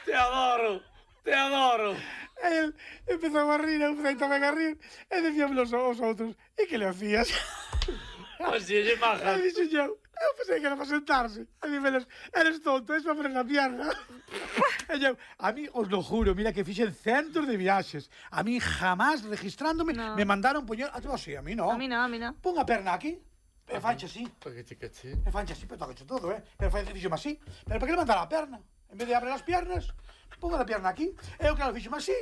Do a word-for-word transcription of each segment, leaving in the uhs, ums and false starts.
Te adoro, te adoro. El empezou a rir, eu empezei tamén a rir, e decíamos os outros, e que le hacías? Así lle maja. E dixo eu, eu pensei que era para sentarse. E dixeles, eres tonto, es para poner na pierna. E eu, a mí, os lo juro, mira que fixen centos de viaxes. A mí jamás, registrándome, no. me mandaron poñer... A tú así, a mí no. A mí no, a mí no. Pon a perna aquí, e fanche así. Porque te caché. E fanche así, pero tocache todo, eh? Pero fai fixome así. Pero para que le mandar a perna? En vez de abrir as piernas, ponga a perna aquí. E eu, claro, fixome así.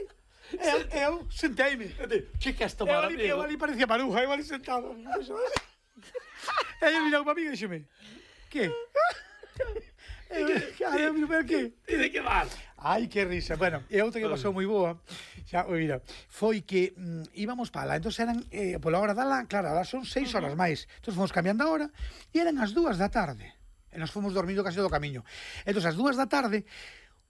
E eu, eu senteime. Que que has Eu tomado, ali, amigo? eu ali parecía maruja, eu ali sentado. E eu mirou para mí e dixeme, que? Eu, claro, eu mirou para que? E de que vas? Ai, que risa. Bueno, e outra que pasou moi boa, xa, mira, foi que mm, íbamos para lá, entón eran, eh, pola hora da lá, claro, ahora son seis horas máis, entón fomos cambiando a hora, e eran as dúas da tarde, e nos fomos dormindo casi todo o camiño. Entón, as dúas da tarde,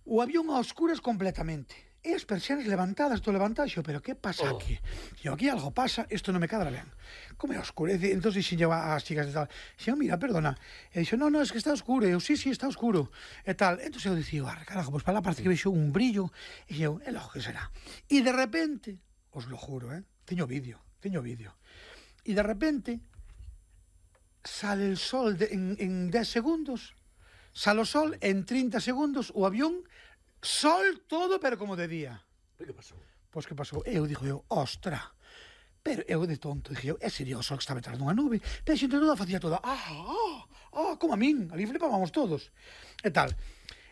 o avión a oscuras completamente, e as persianas levantadas, todo levantado, xo, pero que pasa Oh. aquí? Xo, aquí algo pasa, isto non me cadra ben. Como é oscuro? E, entón, dixen eu ás chicas de tal, xo, mira, perdona. E dixo, no, no, es que está oscuro. E eu, sí, sí, está oscuro. E tal. Entón, eu dixo, ah, carajo, pois para lá parece que vexo un brillo. E eu, é logo que será. E de repente, os lo juro, eh, teño vídeo, teño vídeo. E de repente, sale el sol de, en, en dez segundos, sale o sol, en trinta segundos, o avión, sol todo, pero como de día. Que pasou? Pois que pasou? Eu dixo eu, ostra. Pero eu de tonto, dixo eu, é serio o sol que estaba detrás dunha nube. Pero a xente toda facía toda, ah, ah, ah, como a min. Ali flipábamos todos. E tal.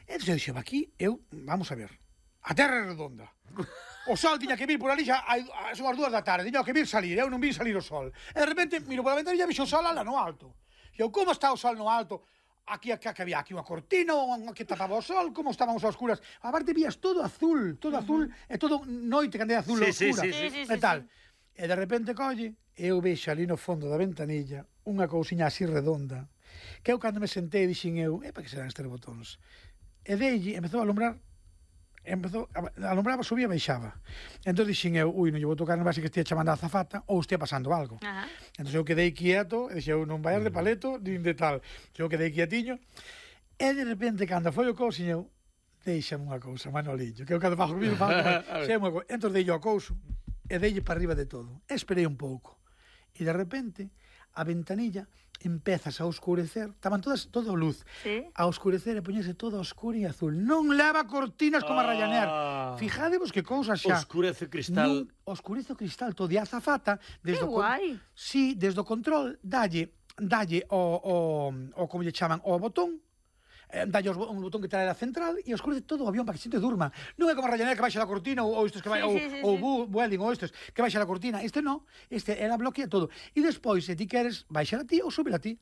Entón eu dixo, aquí, eu, vamos a ver, a terra é redonda. O sol tiña que vir por ali xa, son as dúas da tarde, tiña que vir salir, eu non vi salir o sol. E de repente, miro pola ventanilla e vixo o sol ala no alto. E eu, como está o sol no alto? Aquí, aquí, aquí había aquí unha cortina que tapaba o sol, como estábamos a oscuras. Aparte vías todo azul, todo uh -huh. azul, e todo noite candela azul sí, oscura. Sí, sí, sí, sí, e tal. sí, sí. E de repente colle, eu vexo ali no fondo da ventanilla unha cousiña así redonda, que eu cando me sentei dixen eu, e para que serán estes botóns? E deille, empezou a alumbrar, empezou, alumbraba, subía e baixaba. Entón dixen eu, ui, non lle vou tocar, non vai ser que estea chamando a azafata ou estea pasando algo. Ajá. Entón eu quedei quieto, e dixen eu, non vayas de paleto, nin de tal. Eu quedei quietiño, e de repente, cando foi o couso, eu, deixame unha cousa, Manolillo, que eu cando fago comigo, fago unha cousa. Entón dei o couso, e deille para arriba de todo. Esperei un pouco. E de repente, a ventanilla empezas a oscurecer, estaban todas, todo luz, sí. a oscurecer e poñerse todo oscuro e azul. Non leva cortinas como a Ryanair. Fijadevos que cousa xa. Oscurece o cristal. Non, oscurece o cristal todo. E a azafata, desde Que o con... guai. Sí, desde o control, dalle, dalle o, o, o como lle chaman, o botón, eh, dalle os, un botón que trae a central e oscurece todo o avión para que xente durma. Non é como a Ryanair que baixa da cortina ou, ou estes que vai, Sí, ou, sí, sí, ou sí. Bu- Vueling ou estes que baixa da cortina. Este non, este era bloquea todo. E despois, se ti queres, baixar a ti ou subir a ti.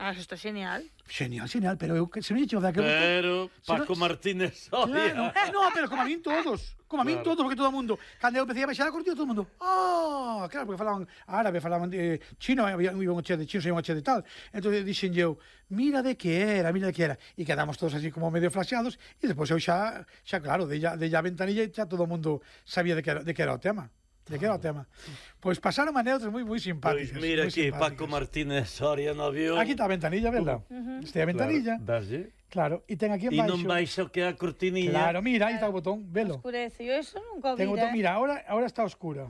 Ah, eso está genial. Genial, genial, pero eu que se non lle chego da que Pero Se Paco non- Martínez Claro, Soria. eh, no, pero como a min todos, como a min Claro. todos, porque todo o mundo, cando eu empecé a baixar a cortina, todo o mundo, ah, claro, porque falaban árabe, falaban de chino, había un che de chino, sei un che de tal. Entón dixen eu, mira de que era, mira de que era, e quedamos todos así como medio flasheados, e despois eu xa, xa claro, de ya, de ya a ventanilla, xa todo o mundo sabía de que era, de que era o tema. De que era o tema. Pois pasaron anécdotas moi moi simpáticas. Pois mira moi aquí, simpáticas. Paco Martínez Soria no avión. Aquí está a ventanilla, verdad? Uh -huh. Está a ventanilla. Claro, daslle. Claro, e ten aquí en E baixo. non baixa o que é a cortinilla. Claro, mira, aí está o botón, velo. Oscurece. Yo eso nunca Ten vi, o botón, eh. mira, ahora, ahora está oscura.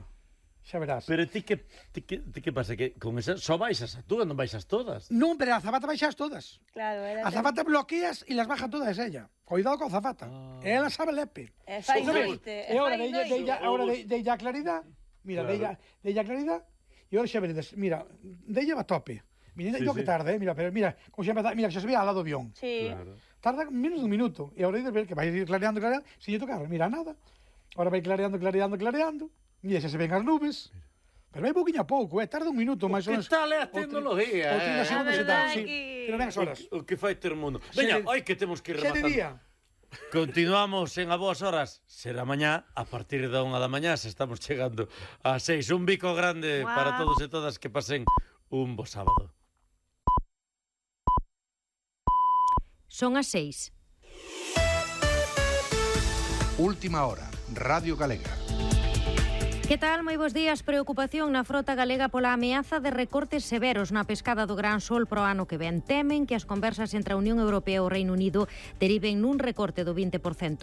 Xa verás. Pero ti que, ti que, ti que pasa? Que con esa só baixas a túa, non baixas todas. Non, pero a zapata baixas todas. Claro, era... A zapata bloqueas e las baja todas ella. Cuidado con a zapata. Ah. Ela sabe lepe. E fai Son noite. E ahora fai de ella, de ella, noite. ahora de, de ella claridad. Mira, Claro. de ella, de ella claridad. E ahora xa veredes, mira, de ella va a tope. Mira, Sí, yo que sí. tarde, eh, mira, pero mira, como xa empeza, mira, xa se ve al lado do avión. Sí. Claro. Tarda menos dun minuto. E ahora hai de ver que vai ir clareando, clareando, sin lle tocar, mira nada. Ahora vai clareando, clareando, clareando. Mira, xa se ven as nubes. Pero vai pouquinho a pouco, eh, tarda un minuto máis ou Que menos. tal é a Ou tri- tecnología, ou trinta eh? segundos e A tal, verdade sí. que- Pero ven as horas. O, o que fai ter mundo. Xe Veña, de- oi que temos que ir Xa de rematando. día. Continuamos en A Boas Horas. Será mañá, a partir da unha da mañá, se estamos chegando a seis. Un bico grande Guau. para todos e todas que pasen un bo sábado. Son as seis. Última hora, Radio Galega. Que tal? Moi bons días. Preocupación na frota galega pola ameaza de recortes severos na pescada do gran sol pro ano que ven. Temen que as conversas entre a Unión Europea e o Reino Unido deriven nun recorte do vinte por cento.